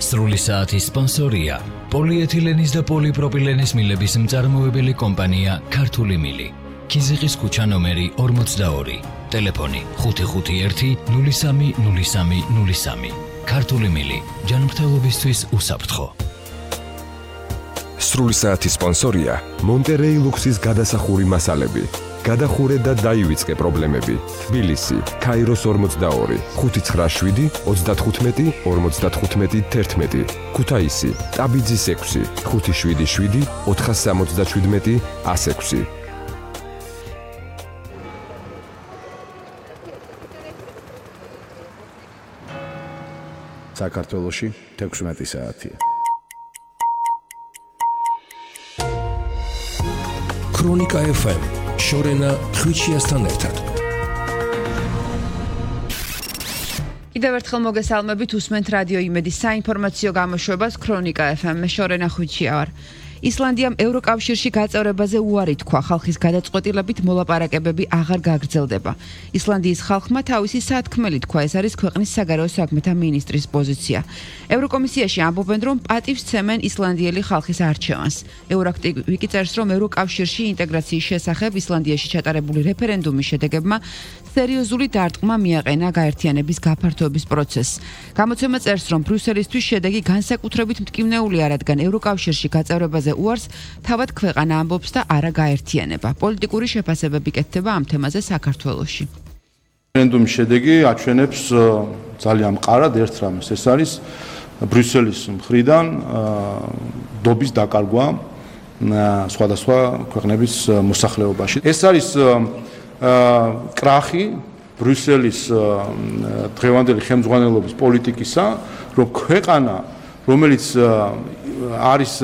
სრული საათის სპონსორია პოლიეთილენის და პოლიპროპილენის მილების მწარმოებელი კომპანია ქართული მილი. ქიზიყის ქუჩა ნომერი 42. ტელეფონი 551-030303. ქართული მილი. ჯანმრთელობისთვის უსაფრთხო. სრული საათის სპონსორია მონტერეი ლუქსის გადასახური მასალები. გადახურე და დაივიწყე პრობლემები. თბილისი, ქაიროს 42, 597, 35, 55, 11. ქუთაისი, ტაბიძის 6, 577, 477, 106. საქართველოში 16 საათია. ქრონიკა FM შორენა ხვიჩიასთან ერთად. კიდევ ერთხელ მოგესალმებით, უსმენთ რადიო იმედის საინფორმაციო გამოშვებას ქრონიკა FM-ში შორენა ხვიჩია ვარ. ისლანდიამ ევროკავშირში გაწევრებაზე უარი თქვა, ხალხის გადაწყვეტილებით მოლაპარაკებები აღარ გაგრძელდება. ისლანდიის ხალხმა თავისი სათქმელი თქვა, ეს არის ქვეყნის საგარეო საქმეთა მინისტრის პოზიცია. ევროკომისიაში ამბობენ, რომ პატივს ცემენ ისლანდიელი ხალხის არჩევანს. ევროაქტივი წერს, რომ ევროკავშირში ინტეგრაციის შესახებ ისლანდიაში ჩატარებული რეფერენდუმის შედეგებმა სერიოზული დარტყმა მიაყენა გაერთიანების გაფართოების პროცესს. გამოცემა წერს, რომ ბრიუსელისთვის შედეგი განსაკუთრებით მტკივნეულია, რადგან ევროკავშირში გაწევრებაზე უარს თავად ქვეყანა ამბობს და არა გაერთიანება. პოლიტიკური შეფასებები კეთდება ამ თემაზე საქართველოში. რეფერენდუმის შედეგი აჩვენებს ძალიან მყარად ერთ რამეს, ეს არის ბრიუსელის მხრიდან დობის დაკარგვა სხვადასხვა ქვეყნების მოსახლეობაში. ეს არის კრახი ბრიუსელის დღევანდელი ხელმძღვანელობის პოლიტიკისა, რომ ქვეყანა, რომელიც არის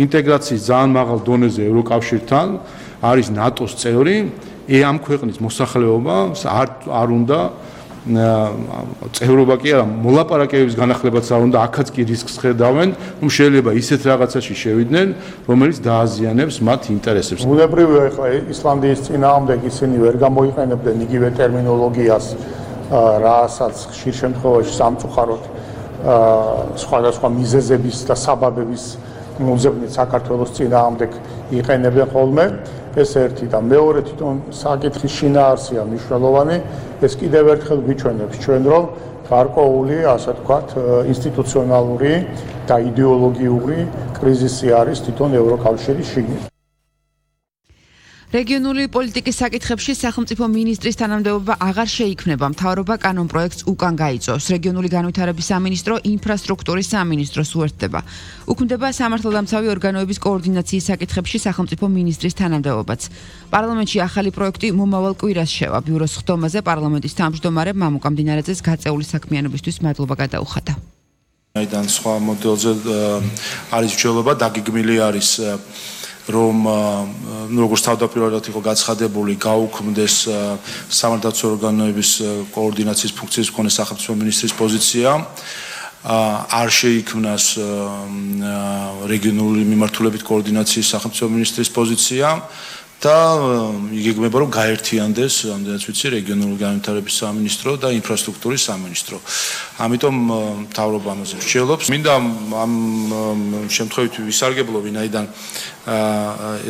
ინტეგრაციის ძალიან მაღალ დონეზე ევროკავშირთან, არის ნატოს წევრი, ამ ქვეყნის მოსახლეობა არ უნდა წევრობა კი არა, მოლაპარაკებების განახლებაც არ უნდა, აქაც კი რისკს ხედავენ, რომ შეიძლება ისეთ რაღაცაში შევიდნენ, რომელიც დააზიანებს მათ ინტერესებს. ბუნებრივია, ეხლა ისლანდიის წინააღმდეგ ისინი ვერ გამოიყენებდნენ იგივე ტერმინოლოგიას, რასაც ხშირ შემთხვევაში სამწუხაროდ სხვადასხვა მიზეზების და საბაბების მოძებნით საქართველოს წინააღმდეგ იყენებენ ხოლმე. ეს ერთი და მეორე თვითონ საკითხის შინაარსია მნიშვნელოვანი. ეს კიდევ ერთხელ გვიჩვენებს ჩვენ, რომ გარკვეული, ასე ვთქვათ, ინსტიტუციონალური და იდეოლოგიური კრიზისი არის თვითონ ევროკავშირის შიგნით. რეგიონული პოლიტიკის საკითხებში სახელმწიფო მინისტრის თანამდებობა აღარ შეიქმნება. მთავრობა კანონპროექტს უკან გაიწვევს. რეგიონული განვითარების სამინისტრო ინფრასტრუქტურის სამინისტროს უერთდება. უქმდება სამართალდამცავი ორგანოების კოორდინაციის საკითხებში სახელმწიფო მინისტრის თანამდებობაც. პარლამენტში ახალი პროექტი მომავალ კვირას შევა. ბიუროს ხდომაზე პარლამენტის თავმჯდომარემ მამუკა მდინარეძეს გაწეული საქმიანობისთვის მადლობა გადაუხადა. აიდან სხვა მოდელზე არის მსჯელობა, დაგეგმილი არის რომ როგორც თავდაპირველად იყო გაცხადებული, გაუქმდეს სამართალდამცავი ორგანოების კოორდინაციის ფუნქციის მქონე სახელმწიფო მინისტრის პოზიცია, არ შეიქმნას რეგიონული მიმართულებით კოორდინაციის სახელმწიფო მინისტრის პოზიცია და იგეგმება, რომ გაერთიანდეს, ამდენაც ვიცი, რეგიონული განვითარების სამინისტრო და ინფრასტრუქტურის სამინისტრო. ამიტომ მთავრობა ამაზე მსჯელობს. მინდა ამ შემთხვევით ვისარგებლო, ვინაიდან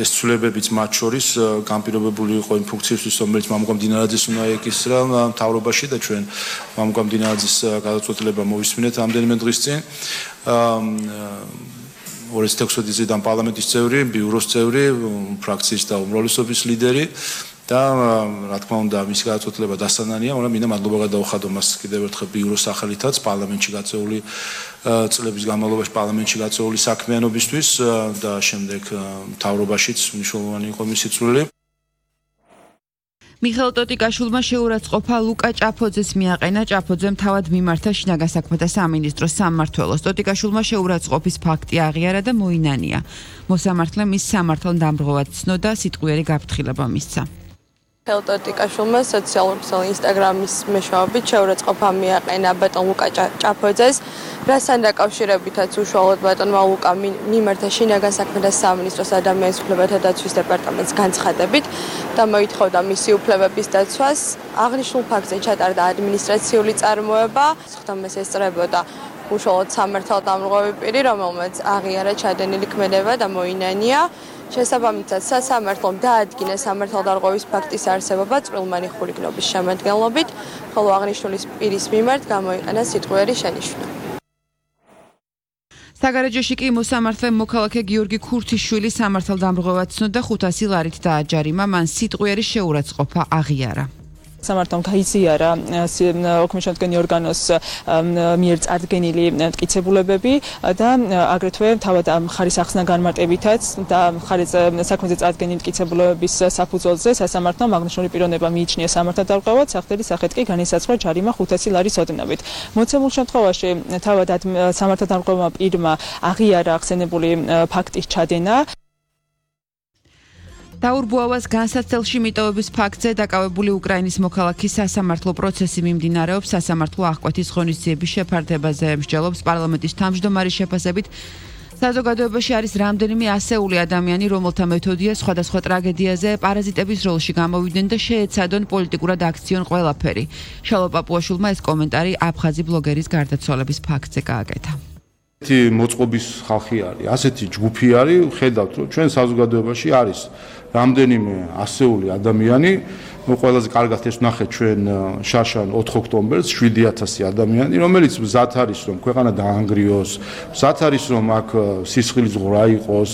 ეს ცვლილებებიც მათ შორის განპირობებული იყო იმ ფუნქციისთვის, რომელიც მამუკა მდინარეძეს უნდა ეკისრა მთავრობაში და ჩვენ მამუკა მდინარეძის გადაწყვეტილება მოვისმინეთ რამდენიმე დღის წინ. 2016 წლიდან პარლამენტის წევრი, ბიუროს წევრი, ფრაქციის და უმრავლესობის ლიდერი და რა თქმა უნდა მისი გადაწყვეტილება დასანანია, მაგრამ მინდა მადლობა გადაუხადო მას კიდევ ერთხელ ბიუროს სახელითაც პარლამენტში გაწეული წლების განმავლობაში პარლამენტში გაწეული საქმიანობისთვის და შემდეგ მთავრობაშიც მნიშვნელოვანი იყო მისი წვლილი. მიხეილ ტოტიკაშვილმა შეურაცხყოფა ლუკა ჭაფოძეს მიაყენა. ჭაფოძემ თავად მიმართა შინაგან საქმეთა სამინისტროს სამმართველოს. ტოტიკაშვილმა შეურაცხყოფის ფაქტი აღიარა და მოინანია. მოსამართლემ ის სამართალდამბრღოვად ცნო და სიტყვიერი გაფრთხილება მისცა. მიხეილ ტოტიკაშვილმა სოციალურ ქსელ ინსტაგრამის მეშვეობით შეურაცხყოფა მიაყენა ბატონ ლუკა ჭაფოძეს, რასთან დაკავშირებითაც უშუალოდ ბატონმა ლუკამ მიმართა შინაგან საქმეთა სამინისტროს ადამიანის უფლებათა დაცვის დეპარტამენტს განცხადებით და მოითხოვდა მისი უფლებების დაცვას. აღნიშნულ ფაქტზე ჩატარდა ადმინისტრაციული წარმოება, სხდომას ესწრებოდა უშუალოდ სამართალდამრღვევი პირი, რომელმაც აღიარა ჩადენილი ქმედება და მოინანია. შესაბამისად, სასამართლომ დაადგინა სამართალდამრღვევის ფაქტის არსებობა წვრილმანი ხულიგნობის შემადგენლობით, ხოლო აღნიშნული პირის მიმართ გამოიყენა სიტყვიერი შენიშვნა. საგარეჯოში კი მოსამართლე მოქალაქე გიორგი ქურთიშვილი სამართალდამრღვევად ცნო და 500 ლარით დააჯარიმა, მან სიტყვიერი შეურაცხყოფა აღიარა. სამართალმა გაიზიარა ოქმიშანტგენი ორგანოს მიერ წარდგენილი მტკიცებულებები და აგრეთვე თავად მხარის ახსნა განმარტებითაც და მხარის საქმეზე წარდგენილი მტკიცებულებების საფუძველზე სასამართლომ აღნიშნული პიროვნება მიიჩნია სამართალდამრღვევად, სახდელი სახით კი განისაზღვრა ჯარიმა 500 ლარის ოდენობით. მოცემულ შემთხვევაში თავად სამართალდამრღვევმა პირმა აღიარა ახსენებული ფაქტის ჩადენა. დაურბუავას განსაცდელში მიტოვების ფაქტზე დაკავებული უკრაინის მოქალაქის სასამართლო პროცესი მიმდინარეობს. სასამართლო აღკვეთის ღონისძიების შეფარდებაზე მსჯელობს პარლამენტის თავმჯდომარის შეფასებით. საზოგადოებაში არის რამდენიმე ასეული ადამიანი, რომელთა მეთოდია სხვადასხვა ტრაგედიაზე პარაზიტების როლში გამოვიდნენ და შეეცადონ პოლიტიკურად აქციონ ყველაფერი. შალო პაპუაშვილმა ეს კომენტარი აფხაზი ბლოგერის გარდაცვალების ფაქტზე გააკეთა. მოწყობის ხალხი არის, ასეთი ჯგუფი არის, ხედავთ, რომ ჩვენ საზოგადოებაში არის რამდენიმე ასეული ადამიანი, ყველაზე კარგად ეს ვნახეთ ჩვენ შაშან 4 ოქტომბერს 7000 ადამიანი, რომელიც მზად არის რომ ქვეყანა დაანგრიოს, მზად არის რომ აქ სისხლის ზღვრა იყოს,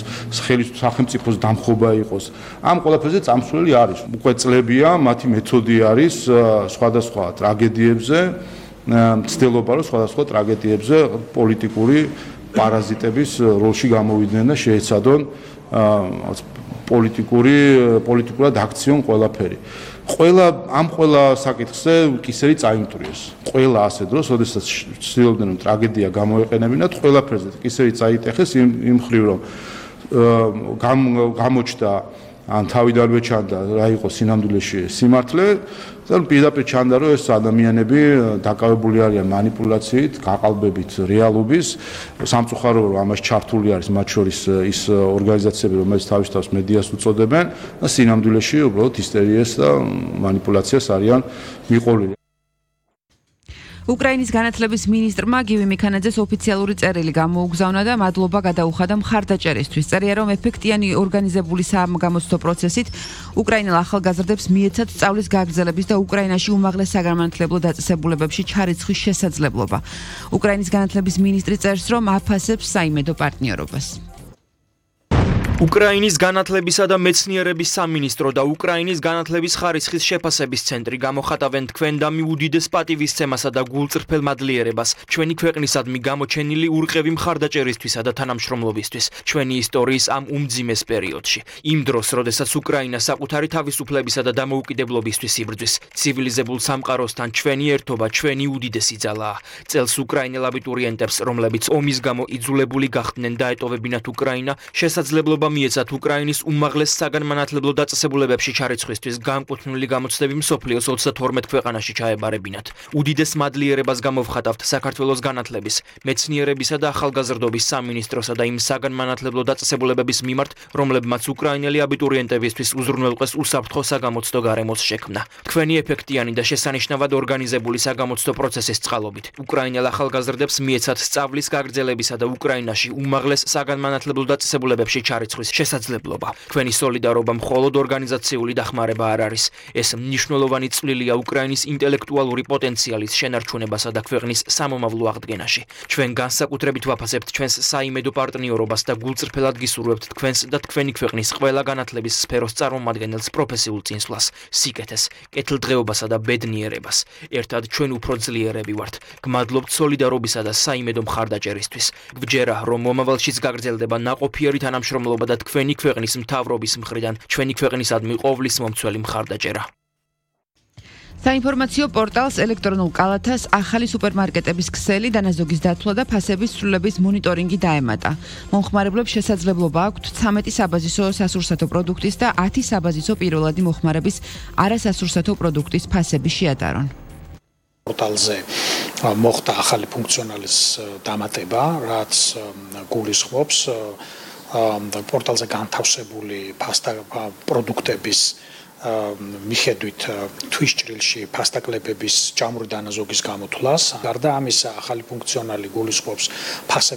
სახელმწიფოს დამხობა იყოს. ამ ყველაფერზე წამსვლელი არის. უკვე წლებია, მათი მეთოდი არის სხვადასხვა ტრაგედიებზე მცდელობა რომ სხვადასხვა ტრაგედიებზე პოლიტიკური პარაზიტების როლში გამოვიდნენ და შეეცადონ პოლიტიკურად აქციონ ყველაფერი. ყველა საკითხზე კისერი წაიმტვრიეს. ყველა ასე დროს, როდესაც ცდილობდნენ რომ ტრაგედია გამოეყენებინათ, ყველაფერზე კისერი წაიტეხეს იმ მხრივ რომ გამოჩნდა ან თავიდანვე ჩანდა რა იყო სინამდვილეში სიმართლე და პირდაპირ ჩანდა რომ ეს ადამიანები დაკავებული არიან манипуляციით, გაყალბებით რეალობის, სამწუხარო რომ ამას ჩართული არის მათ შორის ის ორგანიზაციები, რომელიც თავის თავს მედიას უწოდებენ და სინამდვილეში უბრალოდ ისტერიას და манипуляციას არიან მიყოლილი. უკრაინის განათლების მინისტრმა გივი მიქანაძეს ოფიციალური წერილი გამოუგზავნა და მადლობა გადაუხადა მხარდაჭერისთვის. წერია რომ ეფექტიანი ორგანიზებული სამგამოცდო პროცესით უკრაინელ ახალგაზრდებს მიეცათ სწავლის გაგრძელების და უკრაინაში უმაღლეს საგანმანათლებლო დაწესებულებებში ჩარიცხვის შესაძლებლობა. უკრაინის განათლების მინისტრი წერს რომ აფასებს საიმედო პარტნიორობას. უკრაინის განათლებისა და მეცნიერების სამინისტრო და უკრაინის განათლების ხარისხის შეფასების ცენტრი გამოხატავენ თქვენ და მიუდიდეს პატივისცემასა და გულწრფელ მადლიერებას ჩვენი ქვეყნისადმი გამოჩენილი ურყევი მხარდაჭერისთვისა და თანამშრომლობისთვის ჩვენი ისტორიის ამ უმძიმეს პერიოდში. იმ დროს, როდესაც უკრაინა საკუთარი თავისუფლებისა და დამოუკიდებლობისთვის იბრძვის, ცივილიზებულ სამყაროსთან ჩვენი ერთობა ჩვენი უდიდესი ძალაა. წელს უკრაინელ აბიტურიენტებს, რომლებიც ომის გამო იძულებული გახდნენ დაეტოვებინათ უკრაინა, შესაძლებლობა მიეცათ უკრაინის უმაღლეს საგანმანათლებლო დაწესებულებებში ჩარიცხვისთვის განკუთვნილი გამოცდები მსოფლიოს 32 ქვეყანაში ჩაებარებინათ. უდიდეს მადლიერებას გამოვხატავთ საქართველოს განათლების, მეცნიერებისა და ახალგაზრდობის სამინისტროსა და იმ საგანმანათლებლო დაწესებულებების მიმართ, რომლებმაც უკრაინელი აბიტურიენტებისთვის უზრუნველყვეს უსაფრთხო საგამოცდო გარემოს შექმნა. თქვენი ეფექტიანი და შესანიშნავად ორგანიზებული საგამოცდო პროცესის წყალობით უკრაინელ ახალგაზრდებს მიეცათ სწავლის გაგრძელებისა და უკრაინაში უმაღლეს საგანმანათლებლო დაწესებულებებში ჩარიცხვის შესაძლებლობა. თქვენი სოლიდარობა მხოლოდ ორგანიზაციული დახმარება არ არის. ეს მნიშვნელოვანი წვლილია უკრაინის ინტელექტუალური პოტენციალის შენარჩუნებასა და ქვეყნის სამომავლო აღდგენაში. ჩვენ განსაკუთრებით ვაფასებთ ჩვენს საიმედო პარტნიორობას და გულწრფელად გისურვებთ თქვენს და თქვენი ქვეყნის ყველა განათლების სფეროს წარმომადგენელს პროფესიულ წინსვლას, სიკეთეს, კეთილდღეობასა და ბედნიერებას. ერთად ჩვენ უფრო ძლიერები ვართ. გმადლობთ სოლიდარობისა და საიმედო მხარდაჭერისთვის. გვჯერა, რომ მომავალშიც გაგრძელდება ნაყოფიერი თანამშრომლობა და თქვენი ქვეყნის მთავრობის მხრიდან ჩვენი ქვეყნისადმი ყოვლის მომცველი მხარდაჭერა. საინფორმაციო პორტალს ელექტრონულ კალათას ახალი სუპერმარკეტების ქსელი, დანაზოგის დათვლა და ფასების ცვლილების მონიტორინგი დაემატა. მომხმარებლებს შესაძლებლობა აქვთ 13 საბაზისო სასურსათო პროდუქტის და 10 საბაზისო პირველადი მოხმარების არასასურსათო პროდუქტის ფასები შეადარონ. პორტალზე მოხდა ახალი ფუნქციონალის დამატება, რაც გულისხმობს პორტალზე განთავსებული ფასთა პროდუქტების მიხედვით თვისჭრილში ფასტაკლებების ჭამური დანაზოგის გამოთვლას. გარდა ამისა, ახალი ფუნქციონალი გულისხმობს ფასების